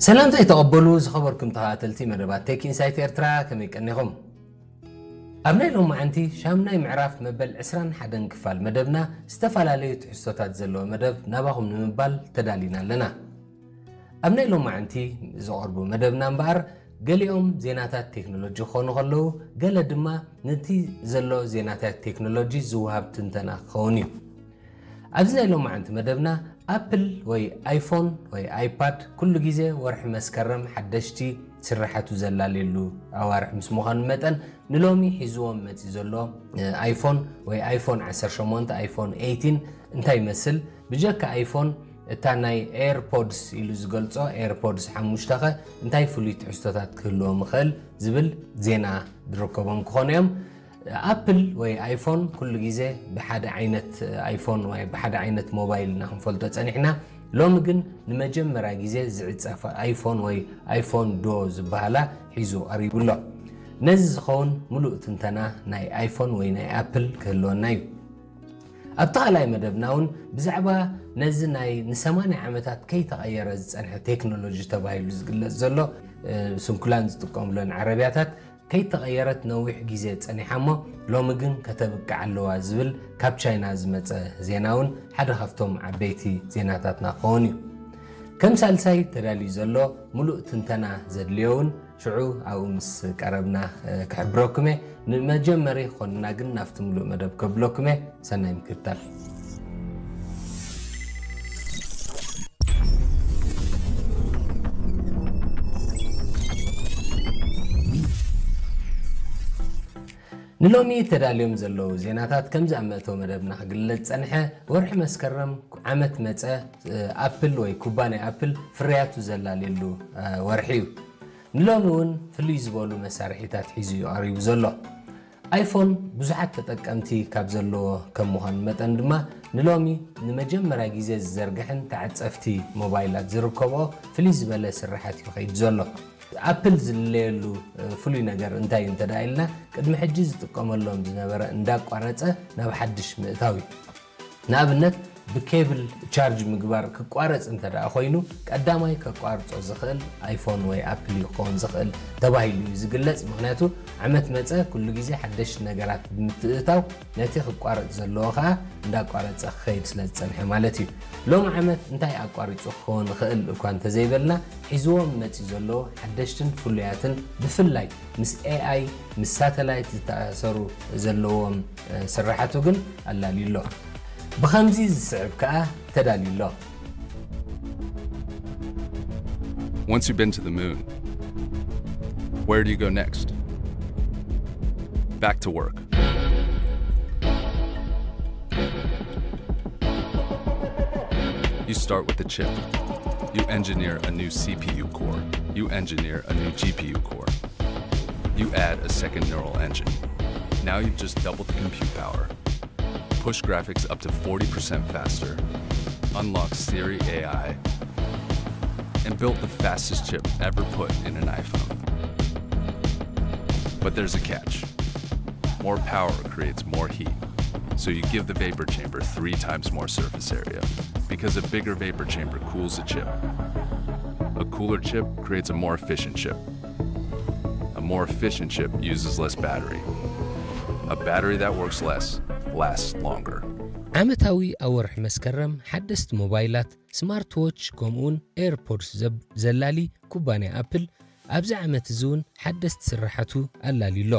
ሰላምታ ይተቐበሉ ዝኸበርኩም ተኸታተልቲ መደባት ቴክ ኢንሳይት ኤርትራ፣ ከመይ ቀኒኹም? ኣብ ናይ ሎማዓንቲ ሻምናይ ምዕራፍ መበል ዕስራን ሓደን ክፋል መደብና ዝተፈላለዩ ትሕዝቶታት ዘለዎ መደብ ናባኹም ንምባል ተዳሊና ኣለና። ኣብ ናይ ሎማዓንቲ ዝቐርቡ መደብና እምበኣር ገሊኦም ዜናታት ቴክኖሎጂ ክኾኑ ከለዉ፣ ገለ ድማ ነቲ ዘሎ ዜናታት ቴክኖሎጂ ዝወሃብ ትንተና ክኸውን እዩ። ኣብዚ ናይ ሎማዓንቲ መደብና ኣፕል ወይ ኣይፎን ወይ ኣይፓድ ኩሉ ግዜ ወርሒ መስከረም ሓደሽቲ ስርሓቱ ዘላለየሉ ኣዋርሕ ምስ ምዃኑ መጠን ንሎሚ ሒዝዎም መፂ ዘሎ ኣይፎን ወይ ኣይፎን ዓሰርተ ሸሞንተ ኣይፎን ኤይቲን እንታይ ይመስል፣ ብጀካ ኣይፎን እታ ናይ ኤርፖድስ ኢሉ ዝገልጾ ኤርፖድስ ሓሙሽተ ኸ እንታይ ፍሉይ ትሕዝቶታት ክህልዎ ምኽእል ዝብል ዜና ዝርከቦም ክኾኑ እዮም። ኣፕል ወይ ኣይፎን ኩሉ ግዜ ብሓደ ዓይነት ኣይፎን ወይ ብሓደ ዓይነት ሞባይል ኢና ክንፈልጦ ጸኒሕና። ሎሚ ግን ንመጀመርያ ግዜ ዝዕጸፈ ኣይፎን ወይ ኣይፎን ዶ ዝበሃላ ሒዙ ቀሪቡ ኣሎ። ነዚ ዝኸውን ምሉእ ትንተና ናይ ኣይፎን ወይ ናይ ኣፕል ክህልወና እዩ። ኣብቲ ካልኣይ መደብና እውን ብዛዕባ ነዚ ናይ ንሰማንያ ዓመታት ከይተቐየረ ዝጸንሐ ቴክኖሎጂ ተባሂሉ ዝግለጽ ዘሎ ስንኩላን ዝጥቀምለን ዓረብያታት ከይተቐየረት ነዊሕ ግዜ ጸኒሓ እሞ ሎሚ ግን ከተብቅዕ ኣለዋ ዝብል ካብ ቻይና ዝመጸ ዜና እውን ሓደ ካብቶም ዓበይቲ ዜናታትና ክኸውን እዩ። ከም ሳልሳይ ተዳልዩ ዘሎ ምሉእ ትንተና ዘድልዮ እውን ሽዑ ኣብኡ ምስ ቀረብና ክሕብረኩም እየ። ንመጀመሪ ክኾንና ግን ናብቲ ምሉእ መደብ ከብለኩም እየ። ሰናይ ምክትታል። ንሎሚ ተዳልዮም ዘለዉ ዜናታት ከምዚ ኣብ መእተዊ መደብና ክግለጽ ጸንሐ። ወርሒ መስከረም ዓመት መጸ ኣፕል ወይ ኩባንያ ኣፕል ፍርያቱ ዘላለየሉ ወርሒ እዩ። ንሎሚ እውን ፍልይ ዝበሉ መሳርሒታት ሒዙ እዩ ቀሪቡ ዘሎ። ኣይፎን ብዙሓት ተጠቀምቲ ካብ ዘለዎ ከም ምዃኑ መጠን ድማ ንሎሚ ንመጀመርያ ግዜ ዝዘርግሕን ተዓጸፍቲ ሞባይላት ዝርከብኦ ፍልይ ዝበለ ስርሓት እዩ ከይዱ ዘሎ። ኣፕል ዝልለየሉ ፍሉይ ነገር እንታይ እዩ እንተ ደኣ ኢልና ቅድሚ ሕጂ ዝጥቀመሎም ዝነበረ እንዳቋረጸ ናብ ሓድሽ ምእታው እዩ። ንኣብነት ብኬብል ቻርጅ ምግባር ክቋረጽ እንተ ደኣ ኮይኑ ቀዳማይ ከቋርጾ ዝኽእል ኣይፎን ወይ ኣፕል እዩ ክኸውን ዝኽእል ተባሂሉ እዩ ዝግለጽ። ምኽንያቱ ዓመት መጸ ኩሉ ግዜ ሓደሽቲ ነገራት ብምትእታው ነቲ ክቋረጽ ዘለዎ ከኣ እንዳቋረጸ ክኸይድ ስለ ዝጸንሐ ማለት እዩ። ሎም ዓመት እንታይ ኣቋሪጹ ክኸውን ይኽእል እኳ እንተዘይበልና ሒዝዎም መጺ ዘለዎ ሓደሽትን ፍሉያትን ብፍላይ ምስ ኤኣይ ምስ ሳተላይት ዝተኣሰሩ ዘለዎም ስርሓቱ ግን ኣላልዩ ኣሎ። ብኸምዚ ዝስዕብ ከኣ ተዳልዩ ኣሎ። Once you've been to the moon, where do you go next? Back to work. You start with the chip. You engineer a new C P U core. You engineer a new G P U core. You add a second neural engine. Now you've just doubled the compute power, pushed graphics up to forty percent faster, unlocked Siri A I, and built the fastest chip ever put in an iPhone. But there's a catch. More power creates more heat. So you give the vapor chamber three times more surface area because a bigger vapor chamber cools the chip. A cooler chip creates a more efficient chip. A more efficient chip uses less battery. A battery that works less lasts longer. ዓመታዊ ኣብ ወርሒ መስከረም ሓደስቲ ሞባይላት፣ ስማርት ዎች ከምኡውን ኤርፖድስ ዘላሊ ኩባንያ ኣፕል ኣብዚ ዓመት እዚ እውን ሓደስቲ ስርሓቱ ኣላልዩ ኣሎ።